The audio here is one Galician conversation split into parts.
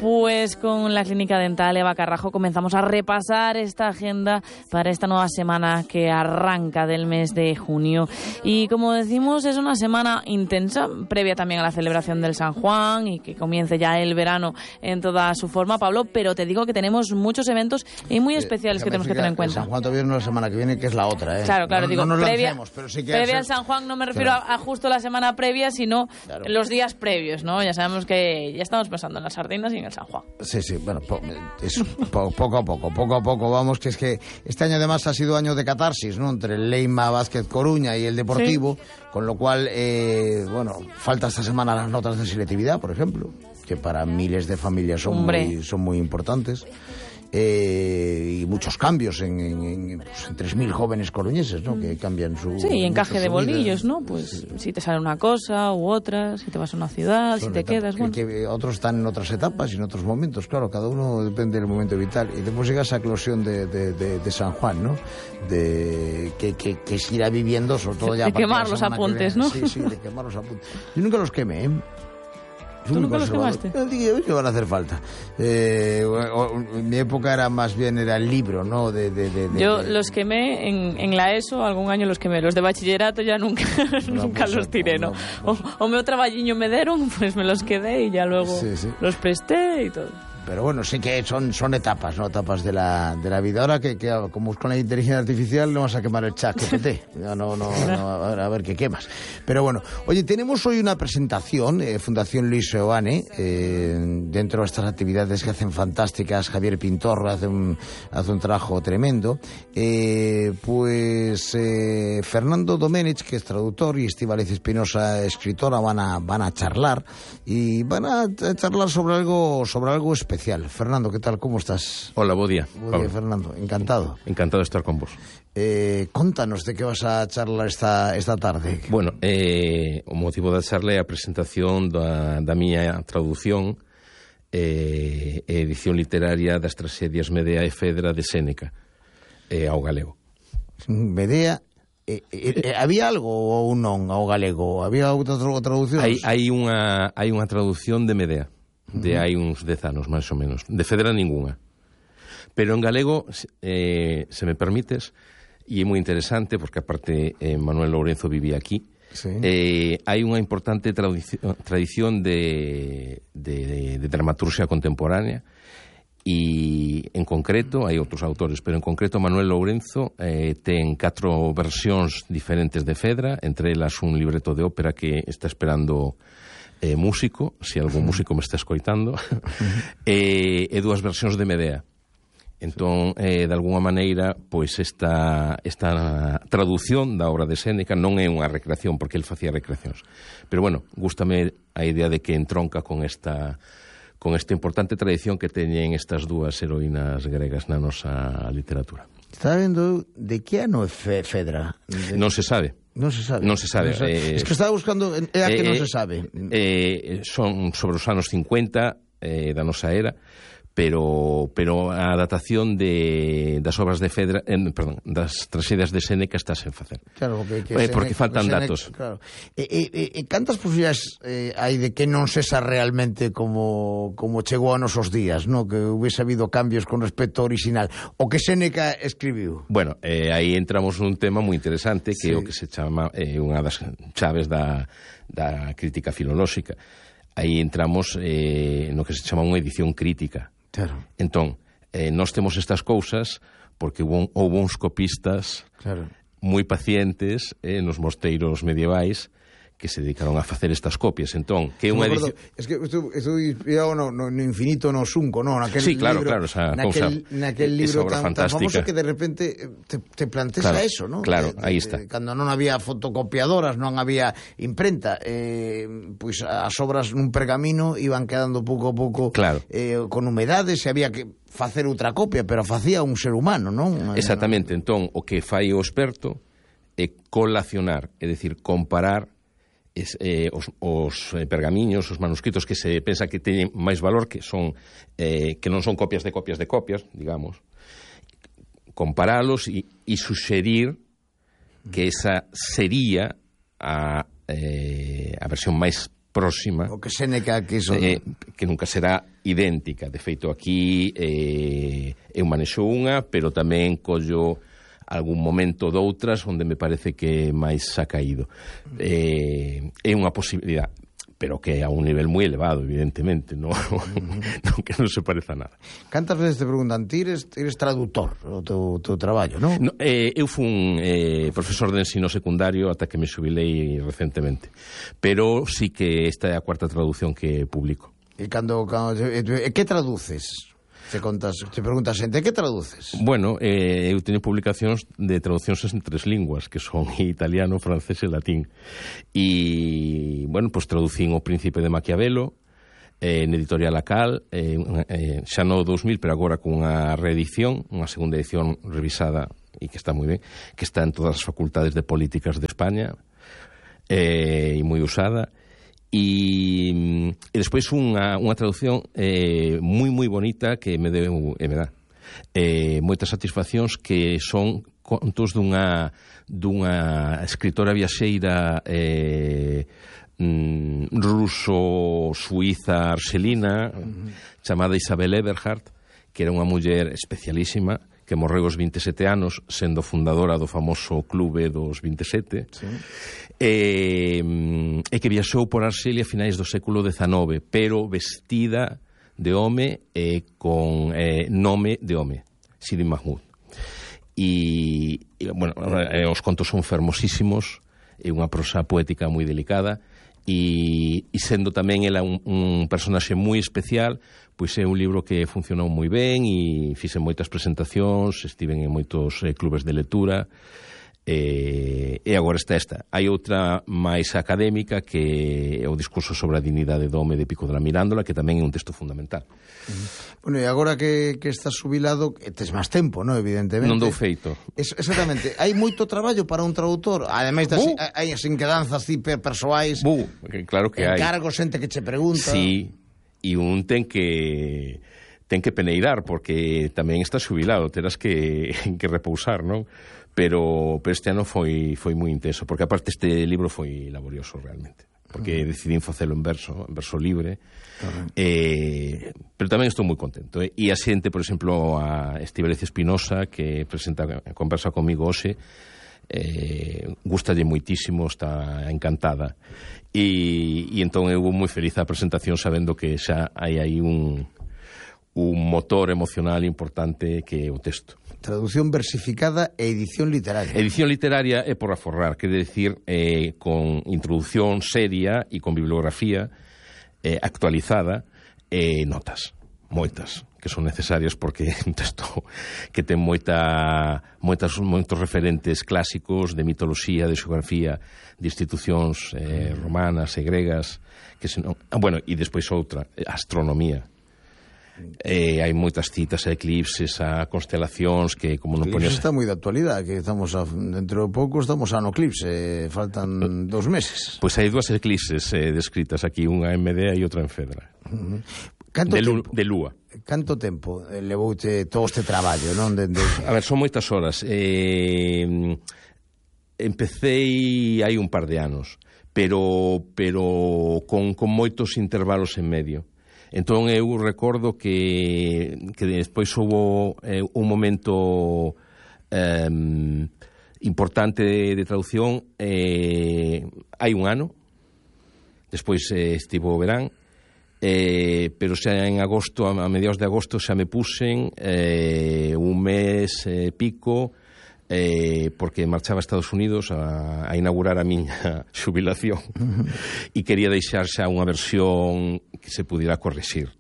Pues con la Clínica Dental Eva Carrajo comenzamos a repasar esta agenda para esta nueva semana que arranca del mes de junio. Y como decimos, es una semana intensa, previa también a la celebración del San Juan y que comience ya el verano en toda su forma, Pablo, pero te digo que tenemos muchos eventos y muy especiales que tenemos que tener en cuenta. San Juan todavía no es la semana que viene, que es la otra, ¿eh? Claro, no, digo, no nos previa, lancemos, pero sí que previa al San Juan no me refiero a justo la semana previa, sino los días previos, ¿no? Ya sabemos que ya estamos pensando en las sardinas y en el San Juan. Sí, bueno, poco a poco vamos, que es que este año además ha sido año de catarsis, ¿no? Entre el Leima Vázquez Coruña y el Deportivo, sí. Con lo cual, falta esta semana las notas de selectividad, por ejemplo, que para miles de familias son muy importantes. Y muchos cambios en 3.000 jóvenes coruñeses, ¿no? Que cambian su... Sí, y encaje de bolillos, ¿no? Pues si te sale una cosa u otra, si te vas a una ciudad, si te quedas... Que otros están en otras etapas y en otros momentos, claro, cada uno depende del momento vital. Y después llega esa eclosión de San Juan, ¿no? Que se irá viviendo, sobre todo ya... De quemar los apuntes, ¿no? Sí, de quemar los apuntes. Yo nunca los quemé, ¿eh? ¿Tú nunca los quemaste? No, dije que van a hacer falta. Mi época era el libro, ¿no? Yo los quemé en la ESO, algún año los quemé. Los de bachillerato ya nunca los tiré, ¿no? O meu traballiño me deron, pues me los quedé y ya luego los presté y todo. Pero bueno, sí que son etapas, ¿no? Etapas de la vida. Ahora que como con la inteligencia artificial no vas a quemar el chat GPT. No, a ver qué quemas. Pero bueno, oye, tenemos hoy una presentación, Fundación Luis Seoane, dentro de estas actividades que hacen fantásticas. Javier Pintorro hace un trabajo tremendo. Fernando Domenech, que es traductor, y Estíbaliz Espinosa, escritora, van a charlar. Y van a charlar sobre algo especial. Fernando, ¿qué tal? ¿Cómo estás? Hola, bo día. Fernando, encantado. Encantado de estar con vos. Contanos de que vas a charlar esta tarde. Bueno, o motivo da charla é a presentación da miña traducción edición literaria das tragedias Medea e Fedra de Séneca ao galego. Medea... había algo ou non ao galego? Había outra traducción? Hai unha traducción de Medea. De hai uns 10 anos, máis ou menos. De Fedra ningunha. Pero en galego, se me permites, e é moi interesante, porque aparte Manuel Lourenzo vivía aquí, hai unha importante tradición de dramaturgia contemporánea, e en concreto, hai outros autores, pero en concreto Manuel Lourenzo ten 4 versións diferentes de Fedra, entre elas un libreto de ópera que está esperando... músico, se algún músico me está escoitando, e 2 versións de Medea. Entón, de alguna maneira, pois esta traducción da obra de Séneca non é unha recreación, porque el facía recreacións. Pero bueno, gústame a idea de que entronca con esta importante tradición que teñen estas 2 heroínas gregas na nosa literatura. Estaba vendo de que ano é Fedra? Non se sabe. Non se sabe. Es que estaba buscando que non se sabe. Son sobre os anos 50 da nosa era, pero a datación das obras de Fedra, das tragedias de Séneca está sen facer. Claro, porque faltan datos. Claro. Cantas posibilidades hai de que non sesa realmente como chegou a nosos días, no? Que hubiese habido cambios con respecto ao original, o que Séneca escribiu? Bueno, aí entramos nun tema moi interesante, que é o que se chama unha das chaves da crítica filolóxica. Aí entramos no que se chama unha edición crítica. Claro. Entón, nós temos estas cousas porque houve uns copistas moi pacientes nos mosteiros medievais que se dedicaron a facer estas copias. Entón, que é unha edición... Es que estou inspirado no Infinito no Xunco, ¿no? Sí, claro, esa cousa, naquel libro tan famoso que de repente te planteas a eso, ¿no? Claro, aí está. Cando non había fotocopiadoras, non había imprenta, pois as obras nun pergamino iban quedando pouco a pouco con humedades, e había que facer outra copia, pero facía un ser humano, non? Exactamente. Entón, o que fai o experto é colacionar, é dicir, comparar os pergamiños, os manuscritos que se pensa que teñen máis valor, que non son copias de copias de copias, digamos, comparalos e suxerir que esa sería a versión máis próxima, o que Séneca quiso, que nunca será idéntica. De feito, aquí eu manexo unha, pero tamén collo algún momento doutras onde me parece que máis ha caído. É unha posibilidade, pero que a un nivel moi elevado, evidentemente, non que non se pareza a nada. Cantas veces te preguntan, ti eres traductor o teu traballo, non? No, eu fun profesor de ensino secundario ata que me xubilei recentemente, pero sí que esta é a cuarta traducción que publico. E que traduces? Te preguntas xente, que traduces? Bueno, eu teño publicacións de traduccións en 3 linguas, que son italiano, francés e latín. E, bueno, pois traducín O Príncipe de Maquiavelo, en editorial Acal, xa no 2000, pero agora con unha reedición, unha segunda edición revisada, e que está moi ben, que está en todas as facultades de políticas de España, e moi usada. E despois unha traducción moi bonita que me deu e me dá moitas satisfaccións, que son contos dunha escritora viaxeira ruso-suiza arxelina chamada Isabel Eberhardt, que era unha muller especialísima, que morreu aos 27 anos, sendo fundadora do famoso Clube dos 27, sí. E que viaxou por Arxelia a finais do século XIX, pero vestida de home e con nome de home, Sidi Mahmoud. E bueno, os contos son fermosísimos, é unha prosa poética moi delicada, e sendo tamén ela un personaxe moi especial, pois é un libro que funcionou moi ben e fixen moitas presentacións, estiven en moitos clubes de lectura, e agora está esta. Hai outra máis académica, que é o discurso sobre a dignidade do home de Pico de la Mirandola, que tamén é un texto fundamental. Bueno, e agora que estás jubilado, tes máis tempo, non? Evidentemente. Non dou feito. Exactamente. Hai moito traballo para un traductor. Ademais, hai as inquedanzas persoais. Claro que hai. Encargos, xente que che pregunta. Sí, e un ten que peneirar, porque tamén está xubilado, terás que repousar, non? Pero este ano foi moi intenso, porque aparte este libro foi laborioso realmente, porque decidín facelo en verso libre, pero tamén estou moi contento. E a xente, por exemplo, a Estíbaliz Espinosa, que conversa comigo hoxe, gustalle moitísimo, está encantada, e entón eu vou moi feliz a presentación, sabendo que xa hai aí un motor emocional importante, que é o texto. Traducción versificada e edición literaria. Edición literaria é por aforrar, quere decir, con introducción seria e con bibliografía actualizada, e notas, moitas, que son necesarias, porque é un texto que ten moitos referentes clásicos de mitoloxía, de xeografía, de institucións romanas e gregas, que senón, bueno, e despois outra, astronomía. Hai moitas citas a eclipses, a constelacións, que como non poñes... Está moi de actualidade, que estamos dentro de pouco estamos a no eclipse, faltan 2 meses. Pois hai 2 eclipses descritas aquí, unha en Medea e outra en Fedra. De lúa. Canto tempo levouche todo este traballo, non? A ver, son moitas horas. Empecei hai un par de anos, pero con moitos intervalos en medio. Entón eu recordo que despois houve un momento importante de traducción hai un ano, despois estivo o verán, pero xa en agosto, a mediados de agosto, xa me puxen un mes pico, porque marchaba a Estados Unidos a inaugurar a miña xubilación e quería deixar xa unha versión que se pudiera correxir.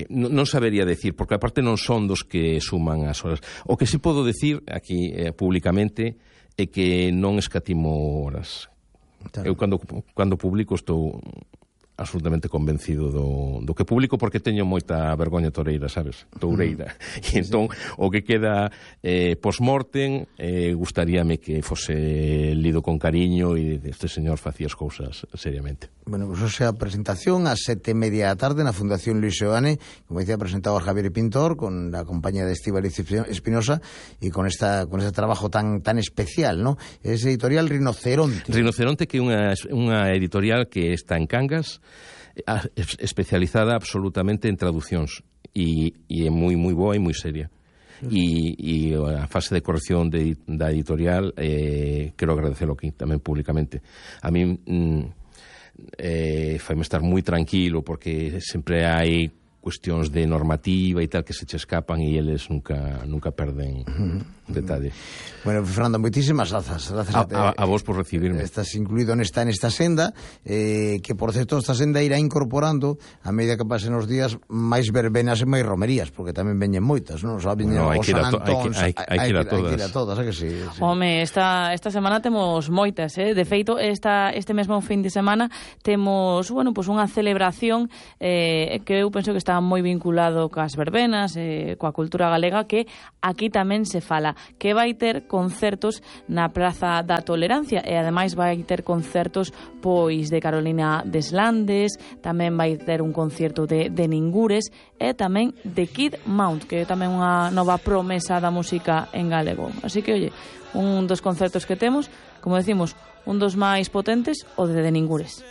Non sabería decir, porque aparte non son dos que suman as horas. O que sí podo decir aquí públicamente é que non escatimo horas. Claro. Eu cando publico estou absolutamente convencido do que publico, porque teño moita vergoña toureira, sabes? Toureira. E entón, o que queda post-mortem, gustaríame que fose lido con cariño e este señor facía as cousas seriamente. Bueno, pues esa presentación a 7:30 da tarde na Fundación Luis Seoane, como decía, presentado a Javier Pintor con la compañía de Estíbaliz Espinosa y con este trabajo tan especial, ¿no? Es editorial Rinoceronte. Rinoceronte, que é unha editorial que está en Cangas, especializada absolutamente en traducións e é moi boa e moi seria. E a fase de corrección da editorial quero agradecelo aquí tamén públicamente. A mí faime estar moi tranquilo, porque sempre hai cuestións de normativa e tal que se che escapan e eles nunca perden detalle. Bueno, Fernando, moitísimas grazas a vos por recibirme. Estás incluído nesta senda, que por certo esta senda irá incorporando a medida que pasen os días máis verbenas e máis romerías, porque tamén veñen moitas, non? Só veñen os San Antóns, hai que ir a todas, que sí. Home, esta semana temos moitas, de feito, este mesmo fin de semana temos, bueno, pues unha celebración que eu penso que está moi vinculado coas verbenas, coa cultura galega, que aquí tamén se fala, que vai ter concertos na Praza da Tolerancia, e ademais vai ter concertos pois de Carolina Deslandes, tamén vai ter un concerto de Ningures e tamén de Kid Mount, que é tamén unha nova promesa da música en galego. Así que, oye, un dos concertos que temos, como decimos, un dos máis potentes, o de Ningures.